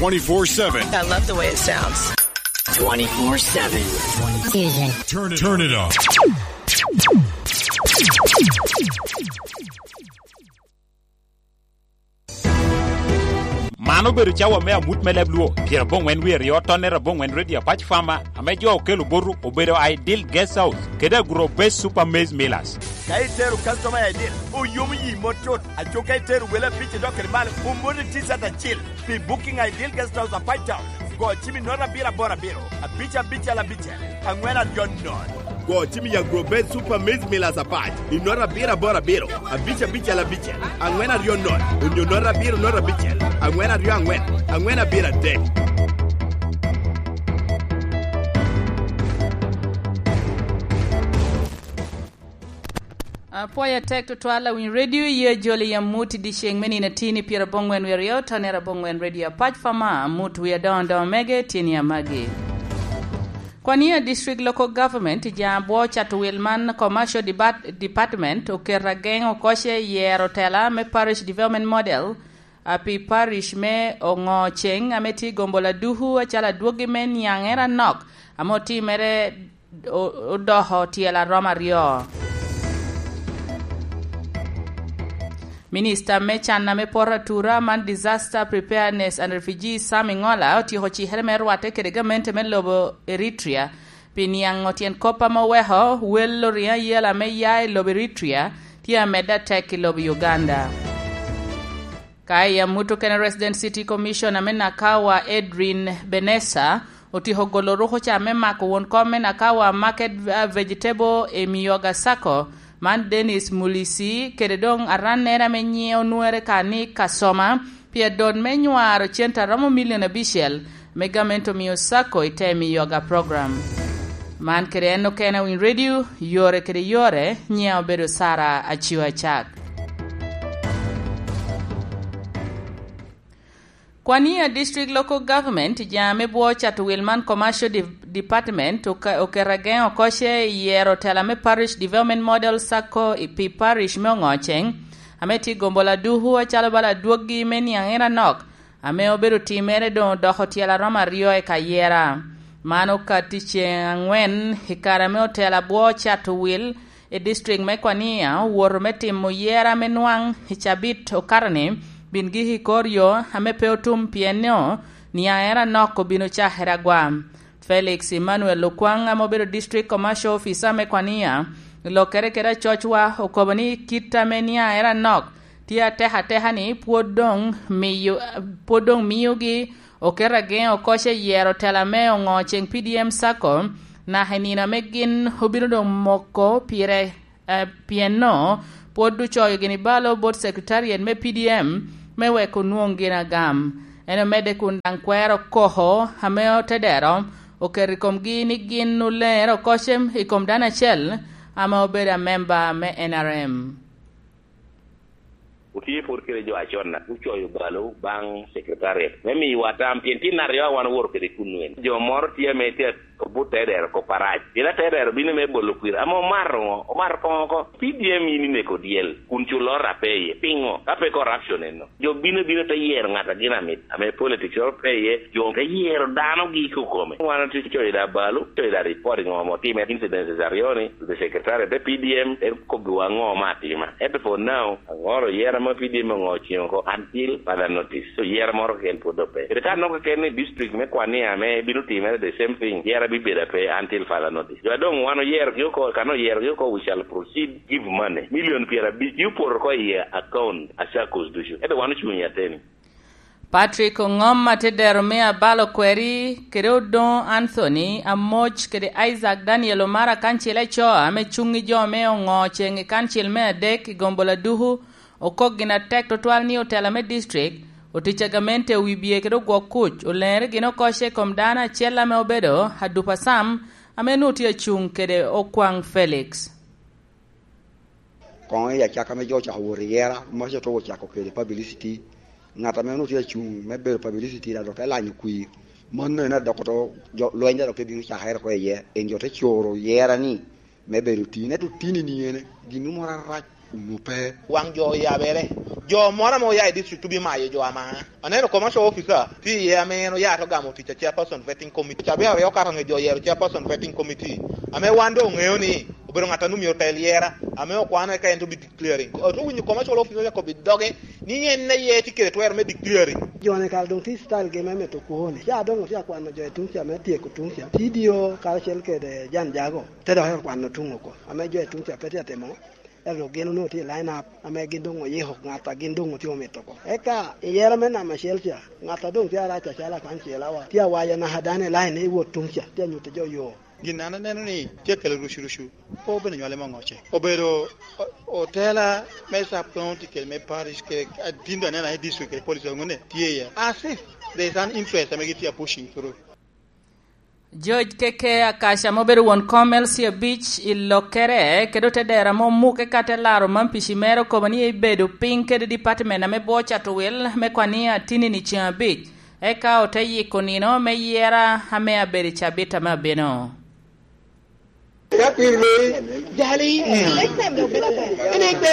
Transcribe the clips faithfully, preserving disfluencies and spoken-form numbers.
twenty-four seven. I love the way it sounds. Twenty-four seven. Turn it, turn it up. Man obedo cawa me amut me leb Luo, pyeraboŋwen wie aryo, tonnere aboŋwen, Radio Apac Fama, ame jo okelo botu obedo Ideal Guest House kede Agro Base Super Maize Millers. Ka itero customer I D, oyomo yi mot tut. Aco ka itero wele abic idok kede malo, omoni T-shirt acil. Pi booking Ideal Guest House Apac Town, go cim i note abiro aboro abiro, abic abicel abicel, aŋwen aryo nono. Go cim i Agro Base Super Maize Millers Apac i note abiro aboro abiro, abic abicel abicel, aŋwen aryo nono, onyo note abiro note abicel, aŋwen aryo aŋwen, aŋwen abiro adek. Apwoyo atek tutwal awiny redio, ye jolo i amut i dyeceŋ me nino atin i pyeraboŋwen wie aryo, tonere aboŋwen, Radio Apac Fama, amut wi adoŋo adoŋo mege tye ni amagi. Kwania District Local Government i ja abwo cato wil man Commercial Debat-, Department oketo ageŋo koce i yero tela me Parish Development Model, a pi parish me Oŋoceŋ ame tye i Gombola Duku acalo adwogi me niaŋere anok ame otimere o-, odoko tyel aromo aryo. Minista me can ame poto atura man Disaster Preparedness and Refugees, Sam Ingola, otyeko cikere me rwatte kede gamente me lobo Eritrea pi niaŋo tyen kop ame oweko wel oriŋo ayela ame ya i lobo Eritrea tye amedde atek i lobo Uganda. Ka i amut okene, Resident City Commissioner me Nakawa, Edrin Benessa, otyeko golo rukuca me mako won kom me Nakawa Market, uh, Vegetable i Miyoga Sacco, man Dennis Mulisi, kede doŋ arannere ame nyiŋe onwere ka ni Kasoma, pi adot me nywaro cente aromo milion abicel, me gamente omio Sacco i te Miyoga Program. Man kede en okene a Winy Radio, yore kede yore, nyiŋa obedo Sara Acio Acak. Kwania District Local Government, ja me bwo cato wil man Commercial De-, Department, oka-, oketo ageŋo koce i yero tela me Parish Development Model Sacco i pi parish me Oŋoceŋ, ame tye i Gombola Duku acalo bala adwoggi me niaŋ en anok, ame obedo timere doŋ odoko tyel aromo aryo i kayera. Man okatti ceŋ aŋwen i kare ame otela bwo cato wil i district me Kwania owoto me timo yera me nwaŋ i cabit okato-ni, bin gik i kor yo ame pe otum, pien nio niaŋ en anok obino cakere agwa. Felix Emmanuel Okwaŋ, ame obedo District Commercial Officer me Kwania, i lokkere kede acocwa, okobo ni kit ame niaŋ en anok tye atek ateka ni pwod doŋ miyo, pwod doŋ miyogi oketo ageŋo koce i yero tela me Oŋoceŋ P D M Sacco, naka i nino ame gin obino doŋ moko pire, eh, pien no pwod ocoyo gini balo bot Secretariat me P D M me wek onwoŋ gin agam. En omedde kun daŋ kwero koko ame otedero oketo i komgi ni gin oleŋere oko cem i kom dano acel ame obedo amemba me N R M. Otye pwod kede jo acon-na, ocoyo balo baŋ Secretariat me miyowa tam, pien tin aryo a wan owoto kede kunnu en. Jo moro tye ame tye obut tedero kop arac. Pien atedero bino me bolo kwir. Ame omato ŋo? Omato koŋo oko. P D M in ineko dyel, kun culo ora pe iye. Piŋo? Ka pe corruption enno. Jo bino, bino te yero ŋat a gin amit, ame politics oro pe iye, jo te yero dano gi i kokome. Wan otye coyo da balo, coyo da report ŋo mo time incidences aryo ni, the secretary te P D M, en kobbiwa ŋo ma atima. Ento for now, aŋoro yero mo P D M oŋo ciŋo oko until further notice. So yero moro keken pwod doŋ pe. Kede ka nok keken ni district me Kwania ame bino timere the same thing, yero bibedo ape until further notice. Jo a doŋ wan oyerogi oko, kan oyerogi oko, we shall proceed, give money. Million pyerabic, you put oko i account a circles ducu. Ento wan ocuŋ i ateni. Patrick Oŋom, atedero me Abalo Kweri, kede Odoŋo Anthony Amoc, kede Isaac Daniel Omara, kancil aco ame cuŋ i jo me oŋo ceŋ i kancil me adek i Gombola Duku, okok gin atek tutwal ni otela me district otic a gamente owibye kede ogwok kuc, oleŋere gin oko ce i kom dano acel ame obedo Adupa Sam, ame nwoŋo tye acuŋ kede Okwaŋ Felix. Koŋo i acakka me jo ocako wot i yera, Mac oto ocako kede publicity. Ŋat ame onwoŋo tye acuŋ me bedo publicity daŋ dok te lanyo kwir. Mano en adoko to jo, lweny daŋ dok te bino cakere oko iye. En jo te coro yera ni me bedo tin. Ento tin i niene, gin moro arac onwoŋo pe. Waŋ jo oyabere, Jo moro ame oya i district obino mayo jo ama. Aneno commercial officer tye iye ame en oya te gamo tic a chairperson vetting committee. Cabit aryo okato nge jo oyero chairperson vetting committee. Ame wan doŋ oŋeo ni obedo ŋat a nwoŋo myero otel yera, ame okwano eka en te bi declaring. Ote winyo commercial officer okobo i doge ni en aye tye kede twero me declaring. Jo-ni kara doŋ tye i style gi me mito kwoni. Ca doŋ otye akwano jo i tuŋ ca me tyeko tuŋ ca. T D O karacel kede jan jago te dok okwano tuŋ oko. Ame jo i tuŋ ca pe tye atimo. Ento gin onwoŋo tye i line up ame gin doŋ oyiko ŋat a gin doŋ otye omito oko. Eka i yera me namba acel ca, ŋat a doŋ tye arac acalo akwaŋ cilawa, tye awaco naka dano i line i wot tuŋ ca, tye anyuto jo yo. Gin an aneno ni tye akelo rucu-rucu, pe obedo nywale me oŋoce. Obedo o-, otela me sub county kede me parish kede atin doŋ aneno i district kede police ŋone tye iye. As if there is an interest ame gitye a pushing through. George Keke Akaca ame obedo won kom L C abic i lokkere, kede otedero ame omuke ka te laro man pici mere okobo ni ebedo piny kede department ame bwo cato wil me kwan ni atini-ni ceŋ abic, eka ote yiko nino me yera ame abedo i cabit ame abino. Ka kwir loyi, jali. Ene kwir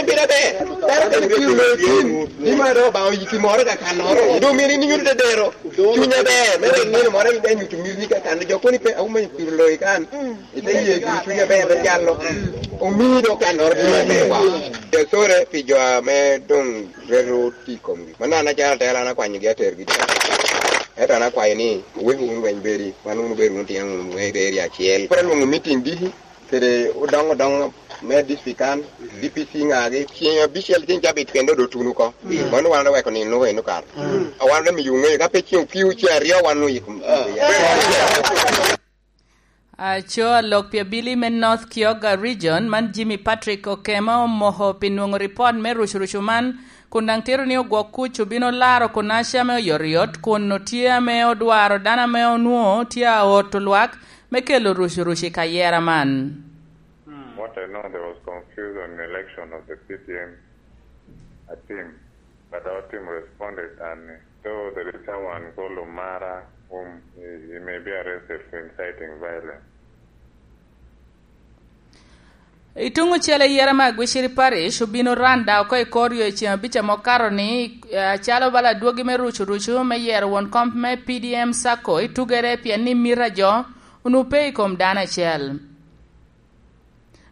bino ber. Dano kene kwir loyi tin, ni ma do ba oyiki moro ka kannoro. Doŋ myero in inyuto dedero. Cuny aber, me wek nino moro in inyuto miri ni ka kan jo koni pe, "Awuma kwir loyi kan." Ite ye gin cuny aber, te jalo. Omi do kannoro bino ber wa. Sore pi jo ame doŋ reto ti komgi. Manno an acalo atela, an akwanyogi atergi. Ento an akwayo ni, wek wun weny bedi, wan wun obedo wun tyen wun weny bedi acel. Koro alwoŋo meeting diki, kede odoŋo odoŋo me district kan, D P C ŋagi, ceng abicel ceng cabit kende odo tuno oko. Mano wan oweko nino eno kar. A wan ame miyo ŋeyo, ka pe ceng okio ceng aryo wan oyiko. Aco a lok pi abili me North Kyoga Region, man Jimmy Patrick Okema omoko pi nwoŋo ripot me rucurucu man, kun daŋ tito ni ogwok kuc obino laro kun aca me oyotoyot, kun otye ame odwaro dano ame onwoŋo tye a oto lwak me kelo rucurucu i kayera man. What I know, there was confusion in election of the P D M, I think. But our team responded, and though there is someone called Omara, whom he, he may be arrested for inciting violence. I tuŋ ocele, yera me Aguiciri Parish obino randa oko i kor yo i ceŋ abic ame okato ni, eh, acalo bala adwogi me rucu rucu me yero won kom me P D M Sacco i tugere, pien ni mita jo onwoŋo pe i kom dano acel.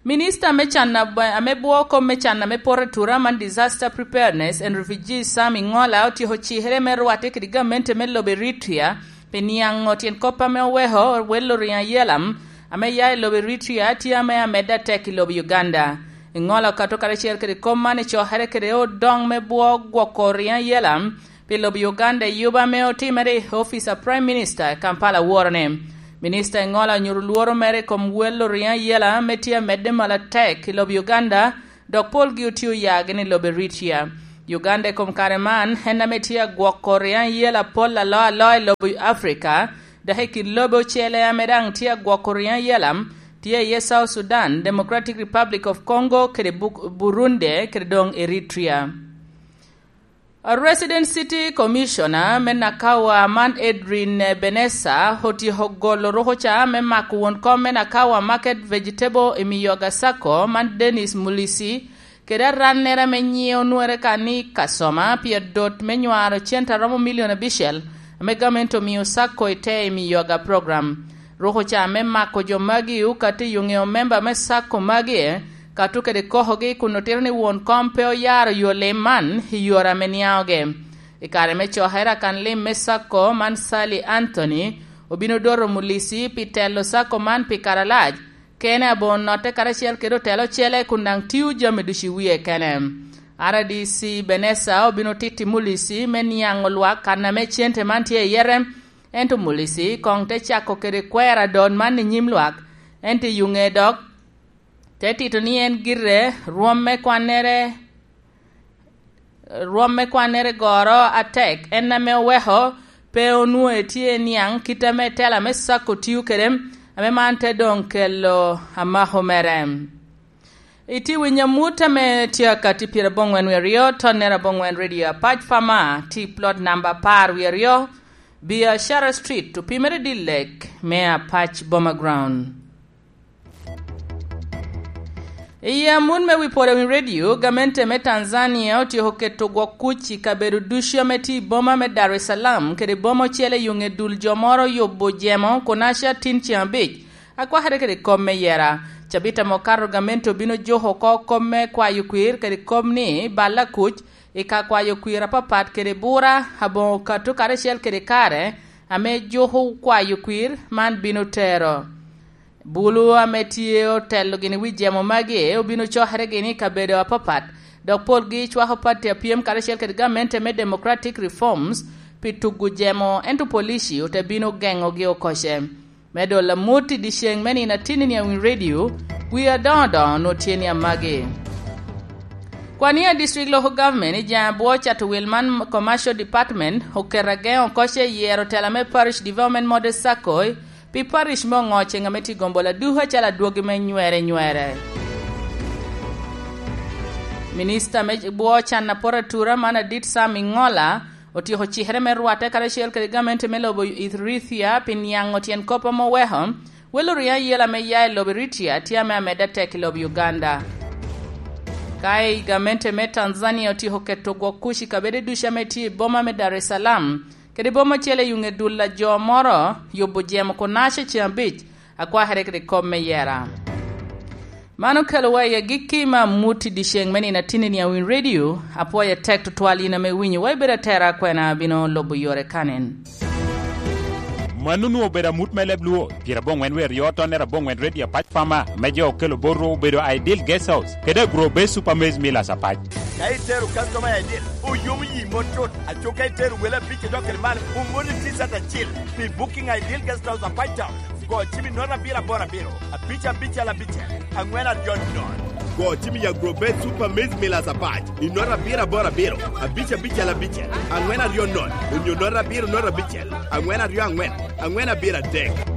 Minista me can ab-, ame bwo kom me can ame poto atura man Disaster Preparedness and Refugees, Sam Ingola, otyeko cikere me rwatte kede gamente me lobo Eritrea pi niaŋo tyen kop ame oweko wel oriŋo ayela ame ya i lobo Eritrea tye ame amedde atek i lobo Uganda. Ingola okato karacel kede kop man i cokere kede odoŋ me bwo gwoko oriŋo ayela pi lobo Uganda i yuba ame otimere i ofice a Prime Minister i Kampala worone. Minista Engola onyuto lworo mere i kom wel oriŋo ayela ame tye amedde malo atek i lobo Uganda, dok polgi otye oya gini i lobo Eritrea. Uganda i kom kare man en ame tye agwoko oriŋo ayela pol alo alo i lobo Africa, dok i kin lobe ocele ame daŋ tye agwoko oriŋo ayela tye iye South Sudan, Democratic Republic of Congo, kede Buk-, Burundi, kede doŋ Eritrea. A Resident City Commissioner me Nakawa man Edrin Benessa otyeko golo rukuca me mako won kom me Nakawa Market Vegetable i Miyoga Sacco man Dennis Mulisi, kede arannere ame nyiŋe onwere ka ni Kasoma pi adot me nywaro cente a romo milion abicel ame gamente omio Sacco i te i Miyoga program. Rukuca me mako jo magi okati i oŋeo memba me Sacco magi, kato kede kokogi kun otito ni won kom pe oyaro yo lim man i yore ame niaŋogi. I kare me cokere, akan lim me Sacco man Sally Anthony obino doto Mulisi pi telo Sacco man pi kare alac, kene aboŋo notte karacel kede otelo ocele kun daŋ tio jami ducu i wie kene. R D C Benessa obino titi Mulisi me niaŋo lwak kan ame cente man tye iye, ento Mulisi koŋ te cako kede kwero adot man i nyim lwak, ento i yuŋe dok te tito ni en gire rwom me kwannere, rwom me kwannere goro atek, en ame oweko pe onwoŋo etye niaŋ kit ame tela me Sacco tio kede, ame man te doŋ kelo amako mere. Itye winyo amut ame tye akati pyeraboŋwen wie aryo, tonnere aboŋwen Radio Apac Pama, tye plot namba apar wie aryo, Biashara Street, opimere Dillek me Apac Boma Ground. I amut me wi pwod awiny redio, gamente me Tanzania otyeko keto gwok kuc i kabedo ducu ame tye i boma me Dar es Salaam kede boma ocele i yo ŋe dul jo moro oyubo jemo Konaca tin ceŋ abic, akwakere kede kop me yera. Cabit ame okato gamente obino juko oko kop me kwayo kwir kede kop ni balla kuc i ka kwayo kwir apapat kede bura aboŋo okato karacel kede kare ame juko kwayo kwir man bino tero. Bulu ame tye otelo gini wi jemo magi obino cokere gini i kabedo apapat, dok polgi cwako pati apyem karacel kede gamente me Democratic Reforms pi tugo jemo, ento polici ote bino geŋogi okoce. Me dolo amut i dyeceŋ me nino atinni ni awiny redio, wi adoŋo doŋo onwoŋo tye ni amagi. Kwania District Local Government i jaŋ abwo cato wil man Commercial Department oketo ageŋo okoce i yero tela me Parish Development Model Circle pi parish me Oŋoce ame tye gombo laduku acalo adwogi me nywere nywere. Minista me bwo can apot atura man Adit Sam Iŋola otyeko cikere me rwatte karacel kede gamente me lobo Ethiopia pi niaŋo tyen kop ame oweko welo riŋo ayela me ya i lobo Eritrea tye ame amedde atek i lobo Uganda. Ka i gamente me Tanzania otyeko keto gwok kuc i kabede ducu ame tye i boma me Dar es Salaam, kede boma ocele i ŋe dul a jo moro yubo jemo Konaca ceŋ abic, akwakere kede kop me yera. Man okelowa i agikki me amut i dyeceŋ me nino atinni ni awiny redio, apwoyo atek tutwal yin ame winyo wa ibedo atera akwena abino lubo yore kanen. Mano onwoŋo obedo amut me leb Luo, pyerabongwen wie aryo tonnere abongwen redio apac pama, me jo okelo botwu obedo Ideal Guest House, kede Agro Base Super Maize Millers apac. Ka itero customer Ideal, oyomo yi mot tut. Aco ka itero wele abic idok kede malo, omoni T-shirt acil pi booking Ideal Guest House apac town. Go cim i note abiro aboro abiro, abic abicel abicel, angwen aryo note. Go cim i Agro Base Super Maize Millers apac i note abiro aboro abiro, abic abicel abicel, angwen aryo note, onyo note abiro note abicel, angwen aryo angwen, angwen abiro adek.